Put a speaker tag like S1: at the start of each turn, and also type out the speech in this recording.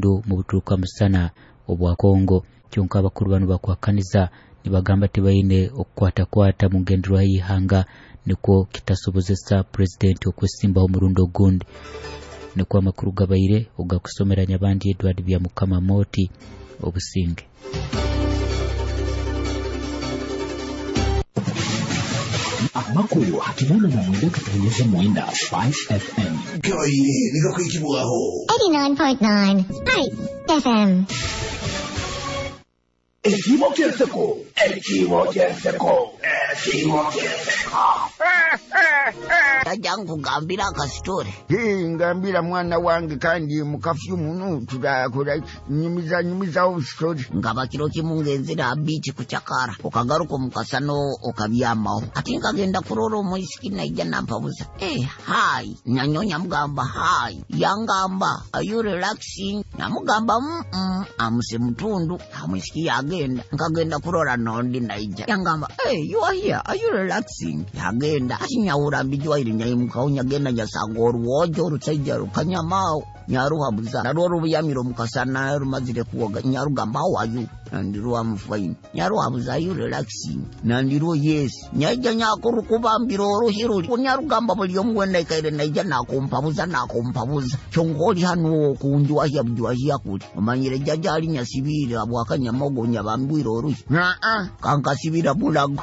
S1: Mu buturuka musana obwa Kongo. Kyonka abakuru banu bakuhakaniza nibagamba tibaine okukwatakwata mu ngenderwaho y'ihanga, nikwo kitasobozesa purezidenti okwesimbaho omurundi ogundi. Nikwo amakuru gabaire ogakusomera Nyabandi Edward Byamukama Moti. Obusinge.
S2: Amakuru ha 89.9 Spice FM.
S3: Gabaire nigakwikibwaho.
S4: 89.9 Spice FM.
S3: Ekibo ky'enseko, ekibo ky'enseko, ekibo ky'enseko.
S5: Tajja nkugambira akasitore.
S6: Ngambira mwana wange, kandi mukafyu muno turakora ki? Nyumiza, nyumizaho story.
S5: Nkaba kiro kimu ngenzera ha biiki kucakara, okagaruka omukasano okabyamaho. Ati nkagenda kurora omwisiki naija nampabuza, "Eh, hi." Nanyonya mugamba hi, yangamba, "Are you relaxing?" Namugamba, amuse mutundu. Omwisiki yagenda. Nkagenda kurora nondi naija, yangamba, "Hey, you are here, are you relaxing?" Yagenda. Ati nyahura mbijwaire, nyayimukaho nyagenda nyasanga oruwojo orusaija rukanyamaaho, nyaruhabuza narwo rubuyamire omukasana rumazire kuwoga. Nyarugamba, "How are you?" Nandirwo, "I'm fine." Nyaruhabuza, "Are you relaxing?" Nandirwo, "Yes." Nyaija nyakurukubambira oruhi ruli, nyarugamba, "Buli omu wena ikaire naija nakumpabuza, nakumpabuza, kyonka oli hanu okunjwahya bujwahya kuli omanyire jaja ali nyasibiire abwakanyamaogo nyabambwire oruhi."
S6: Aa.
S5: Kankasibira mulago.